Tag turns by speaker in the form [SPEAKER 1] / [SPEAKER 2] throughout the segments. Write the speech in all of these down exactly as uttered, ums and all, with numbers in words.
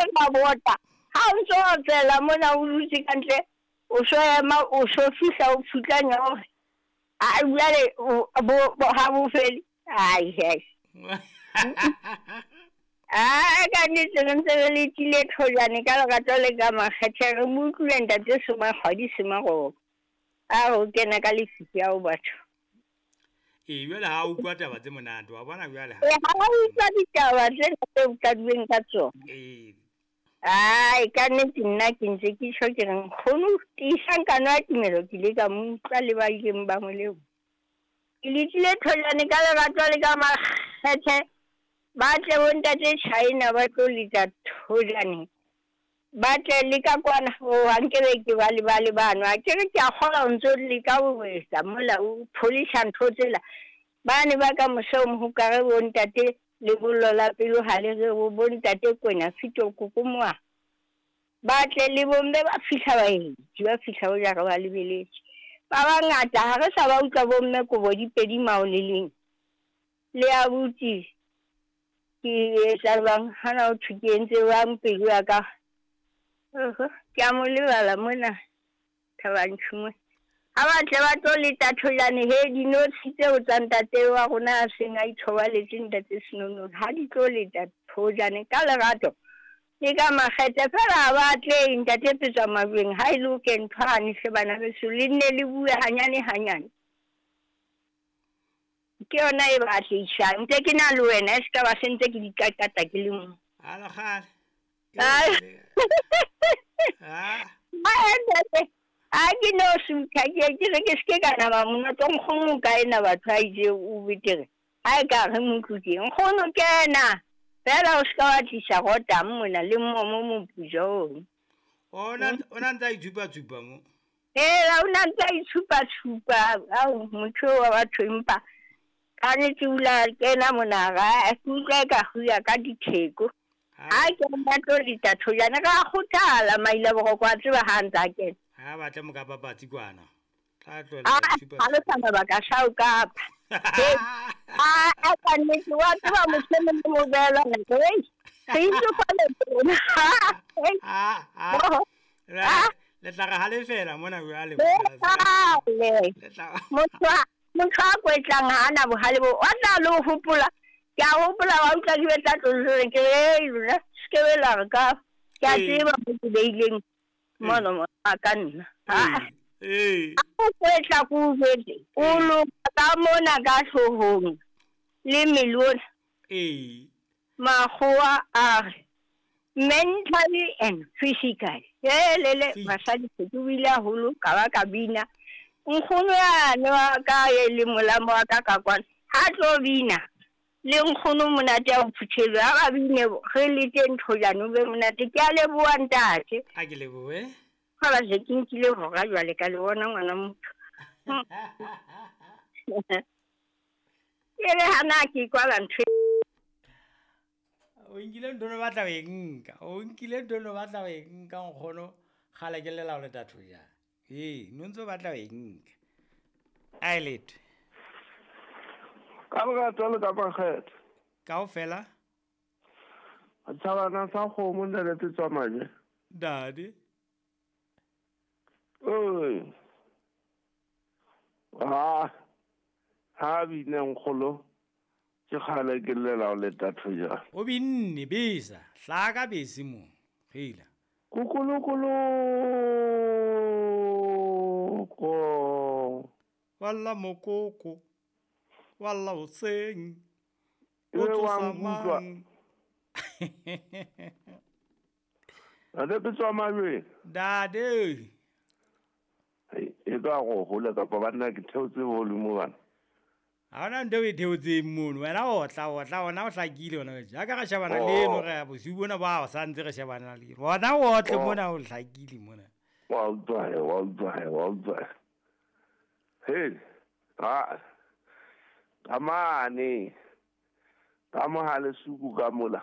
[SPEAKER 1] Ra bota. Ha o ntso otsela mona o dutse ka ntle, o so ema o so fihla o phutlanya hore a jwale bo ha bo fele. Ai ai. Ah, ka nnete re ntse re letile thojane ka lerato le ka makgethe re mo utlwile ntate Soma kgwadi Semaroba. A o kena ka lefifi ao batho.
[SPEAKER 2] Ee, jwale ha o utlwa taba tse monate, wa bona jwale ha.
[SPEAKER 1] Ee, ha o utlwa ditaba tsena tseo qadilweng ka tsona.
[SPEAKER 2] Ee.
[SPEAKER 1] Ai, ka nnete nna ke ntse ke tjho ke re nkgono tiisang kano ya tumelo ke ile ka mo utlwa le ba ileng ba mo leo. Ke letile thojane ka lerato le ka makgethe. Ba tle bo ntate China ba tlo letsa thojane. Ba tle le ka kwana o nkebe ke ba le ba le bano. A ke re ke a kgola o ntso leka ho etsa mola o pholisa ntho tsela. Ba ne ba ka mose o mohokare bo ntate lebollo la pelo ha le re bo ntate Kwena fito kokomoa. Ba tle le bomme ba fihla ba etsi ba fihla o jara ba lebeletse. Ba bangata ha re sa ba utlwa bomme kobo di pedi mao le leng. Le abuti ke etsa jwang hana o thwe ke entse jwang pelo ya ka. Ke a mo lebala mona Thabanchu mo. Ha ba tle ba tlo leta thojane he dinotshi tseo tsa ntate wa rona a seng a ithobaletse ntate Senono ha di tlo leta thojane ka lerato le ka makgethe fela ha ba tle ntate Petswa Majweng ha e loke ntho hane hle bana beso le nne le bue hanyane hanyane. Ke yona e ba atlehisang ntse ke na le wena e se ka ba se ntse ke di qaqata ke le mong.
[SPEAKER 2] Ha la kgale.
[SPEAKER 1] Ah. A ke no sutha ke ke re ke se ka nama mona tlo nkgono ka ena batho a itse o betere. Ha e ka re motlutse nkgono kena fela o se ka wa tlisa rota mona le momo mopujong.
[SPEAKER 2] Ona ona ntse a itshupa tshupa mo.
[SPEAKER 1] Ee, ona ntse a itshupa tshupa ao motho wa batho empa ka nnete o la kena mona ga ke utlwa ka ho ya ka ditheko. Ha ke nna tlo leta thojana ka kgothala maila boroko a tseba ha ntse a kena.
[SPEAKER 2] Ha ba tle moka papatsi kwana. Tla tlohela
[SPEAKER 1] tshupa. Ha le sa mabaka sa o kapa. A a ka nnete wa tseba motho e mong mo beela nako ei. Re itse fa le tsona.
[SPEAKER 2] Ah ah. Le tla re halefela mona jwale.
[SPEAKER 1] Le tla motho motho a kwetlang ha ana bohale bo wa tla le ho hopola. Ke a hopola wa utlwa di betla tlolong ke re lona se ke be la re ka ke a tseba mo ke beileng mono mo a ka nna.
[SPEAKER 2] Ee.
[SPEAKER 1] O kwetla ko jwetse o loka ka mona ka hloohong le mmele ona.
[SPEAKER 2] Ee.
[SPEAKER 1] Makgowa a re mentally and physically. Lele basadi se ke bile haholo ka ba ka bina. Nkgono yane wa ka e le molamo wa ka ka kwana ha tlo bina le nkgono monate a o phuthelwe ha ba bine re lete nthojane o be monate. Ke a leboha ntate.
[SPEAKER 2] A ke lebohe.
[SPEAKER 1] Ha ba se ke nkile hora jwale ka le bona ngwana motho. Ke re hana ke kwala ntho.
[SPEAKER 2] O nkile ntho no batla ho e nka. O nkile ntho no batla ho e nka nkgono kgale ke lela ho leta thojane. Ee, no ntso batla ho e nka. A lete.
[SPEAKER 3] Ka lerato le ka makgethe.
[SPEAKER 2] Kaofela.
[SPEAKER 3] Thabana sa kgomo ntate Petswa Majwe.
[SPEAKER 2] Dade.
[SPEAKER 3] Oi. Ha ha bine nkgolo ke kgale ke llela ho leta thojane.
[SPEAKER 2] O binne besa, hlaka bese mo. Hela.
[SPEAKER 3] Kukulukulu ko.
[SPEAKER 2] Walla mokoko. Walla hoseng.
[SPEAKER 3] O tsosa mang. Ntate Petswa Majwe.
[SPEAKER 2] Dade.
[SPEAKER 3] E ka go hola kapa banna ke theotse volume bana.
[SPEAKER 2] Ha ona ntho e theotseng mono. Wena o tla o tla ona o hlakile ona. Jaaka re shebana le eno re ya bosiu bona ba o sa ntse re shebana le eno. Ona o tle mona o hlakile mona.
[SPEAKER 3] Wa utlwa he, wa utlwa he, wa utlwa. He. Ha. Amane. Ka mohale suku ka mola.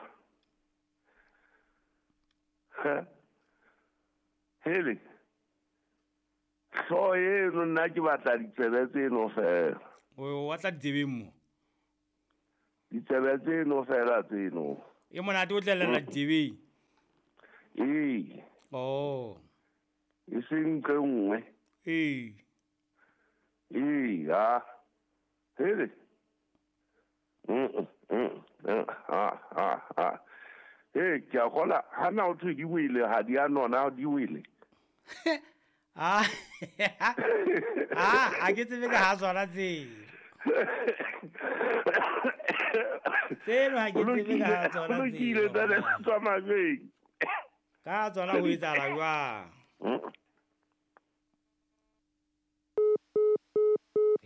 [SPEAKER 3] He. Hele. Hlooho eno nna ke batla ditsebe tseno fela.
[SPEAKER 2] O batla ditsebeng mo?
[SPEAKER 3] Ditsebe tseno fela tseno.
[SPEAKER 2] E monate o tlelela ditsebeng.
[SPEAKER 3] Ee.
[SPEAKER 2] Oh.
[SPEAKER 3] E seng nqe nngwe.
[SPEAKER 2] Ee.
[SPEAKER 3] Ee, ha. Hele. Mm mm. Ha ha ha. Hey, ke a kgola ha na o thwe di wele ha di a nona di wele.
[SPEAKER 2] Ah. Ah, a ke tsebe ka ha tsona tseo. Tseno ha ke tsebe ka ha tsona
[SPEAKER 3] tseo. Lokile tsa tswa majweng.
[SPEAKER 2] Ka tsona ho etsahala jwang?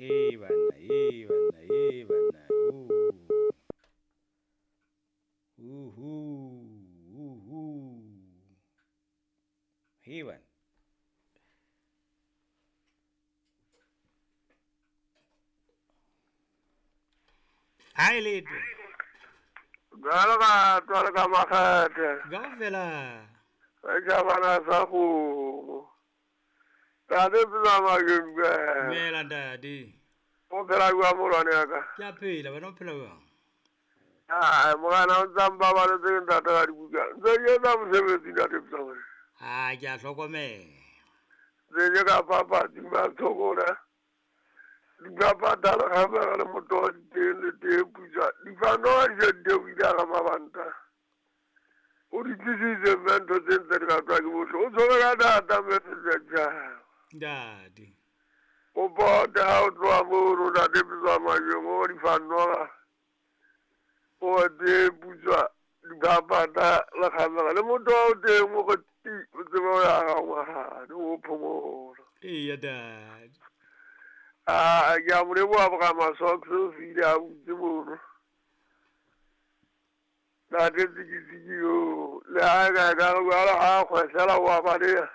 [SPEAKER 2] Eh banna, eh banna, eh banna. Uhu, uhu. He banna. Hai letho.
[SPEAKER 4] Jwalo ka jwalo ka makgethe.
[SPEAKER 2] Kaofela.
[SPEAKER 4] Setjhabana sa kgomo. Ntate Tsamajeng.
[SPEAKER 2] Dumela ntate.
[SPEAKER 4] O phela jwang molwane ya ka?
[SPEAKER 2] Ke a phela, wena o phela jwang?
[SPEAKER 4] Ai, morena o ntsa mpabaletse ke ntate ka dibuka. Ntse ke etsa mosebetsi ntate Tsamajeng.
[SPEAKER 2] Ah, ke a hlokomela.
[SPEAKER 4] Ntse ke ka papatsi ba tshokola. Dipapatala ga le motho wa diteng le teng pusa. Difanoa di se di theohile hara mabanta. O di tlisitse mme ntho tse ntse di ratwa ke bohle. O tshwere ka thata mme setjhaba.
[SPEAKER 2] Ntate.
[SPEAKER 4] O pote ha o tloha mono ntate Tsamajeng o difanoa. O teng putswa dipapata le kgamela le motho wa o teng o go ti o tsebe o ya ga ngwahane o phomola.
[SPEAKER 2] Eya ntate.
[SPEAKER 4] Ah, ke a mo leboha boramasocks o file a butse mono. Ntate Tsikitsiki yo, le ha ka ka re jwale ha kgwehlela o a baleha.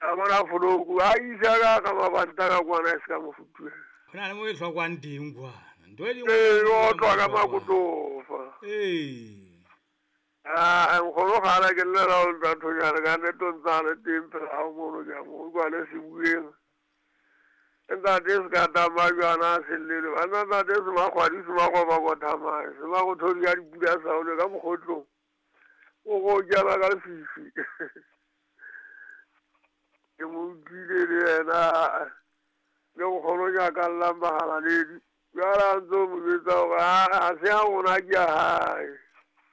[SPEAKER 4] A bona foloku, a isa ka ka mabanta ka kwana e se ka mo futuhela.
[SPEAKER 2] Ho na le mo e hlokwang teng kwana. Ntho e
[SPEAKER 4] Ee, o tlwa ka makotofa.
[SPEAKER 2] Ee.
[SPEAKER 4] Ah, nkgono kgale ke llela ho ntathonyana ka nnete o ntsa le teng pela hao mono ke a mo utlwa le sebueng. Ntate se ka tama jwana a sellele. Banna ntate se makgwadi se makgoba kothamae. Se makothodi ka dipula sa ole ka mokgotlong. O go jala ka lefifi. Ke mo utlwile le yena le nkgono nyaka llang mahalaledi. Jwale a ntso mo jwetsa hore ha se ya rona ke ya hae.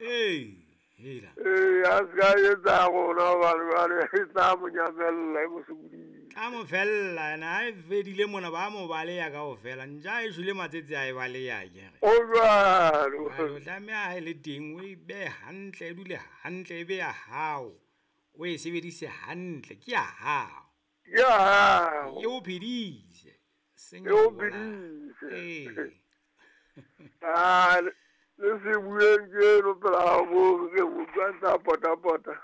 [SPEAKER 2] Ee, hela.
[SPEAKER 4] Ee, a se ka etsa rona hobane jwale e tla mo nyamella e mo sokodise.
[SPEAKER 2] A mo fella ena ha e fedile mona ba mo baleya kaofela. Ntja e shwele matsetse a e baleya akere.
[SPEAKER 4] O jwalo.
[SPEAKER 2] O tlameha ha e le teng o e behe hantle, e dule hantle, e be ya hao. O e sebedise hantle, ke ya hao.
[SPEAKER 4] Ke ya hao.
[SPEAKER 2] E o phedise.
[SPEAKER 4] E o phedise.
[SPEAKER 2] Ee.
[SPEAKER 4] Ah, le se bueng ke eno pela hao mono ke mo utlwa ntse a potapota.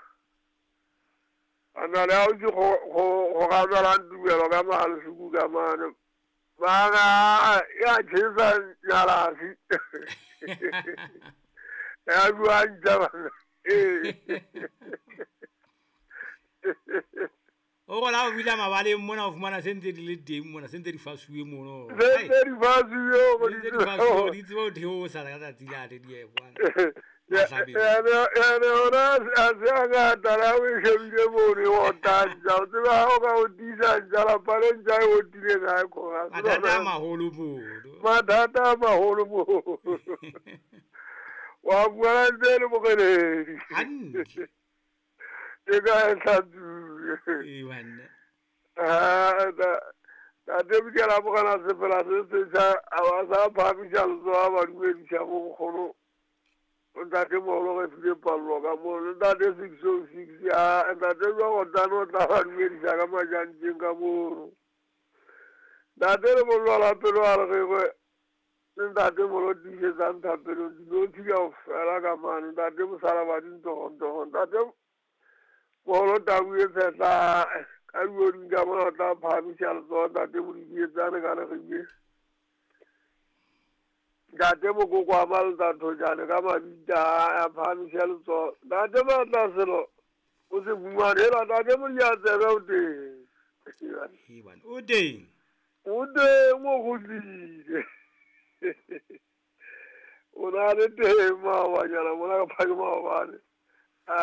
[SPEAKER 4] Ana le ha o itse go go gabelang tumelo ka mahalesuku ka mane. Mara ya tjhesa nyalasi. Ya bua ntja bana. Ee.
[SPEAKER 2] O gola o bula mabaleng mona o fumana se ntse di le teng mona se ntse di fasuwe mono.
[SPEAKER 4] Se ntse di fasuwe
[SPEAKER 2] mo di fasuwe di tsebe ho theosa ka tsatsi lane di ye kwana.
[SPEAKER 4] Ene ona a se a ngata la o e shebile mono e otang ntja. O tseba ha o ka o tiisa ntja lapa le ntja e otileng ha e khona.
[SPEAKER 2] Mathata a maholo mono.
[SPEAKER 4] Mathata a maholo mono. Wa bua ntse le mokeledi.
[SPEAKER 2] Hantle.
[SPEAKER 4] Ke ka e hlatsuwe.
[SPEAKER 2] Ee banna.
[SPEAKER 4] Ah, tate Bikela bogana sefela se setjha a ba sa phahamisa letsoho a ba dumedisa bo nkgono. Ntate moholo re file pallo ka mono. Ntate six oh six ya ntate jwa gotane o tla ba dumedisa ka majanteng ka mono. Ntate le molwala pelo a re gwe le ntate moholo tiisetsang thapelong dinotshi kaofela ka mane. Ntate mosala ba dintogontogo. Ntate moholo tau e tshehla ka dioding ka mona o tla phahamisa letsoho ntate Modidietsane ka Lekgibeng. Ntate Mokoko a Maletsathojane ka mabitla a phahamisa letsoho. Ntate Matlaselo o se fumane hela ntate Modiatsebe o teng.
[SPEAKER 2] Ee bana, o teng.
[SPEAKER 4] O teng o kgutlile. O na le teng maobanyana mona ka phake maobane.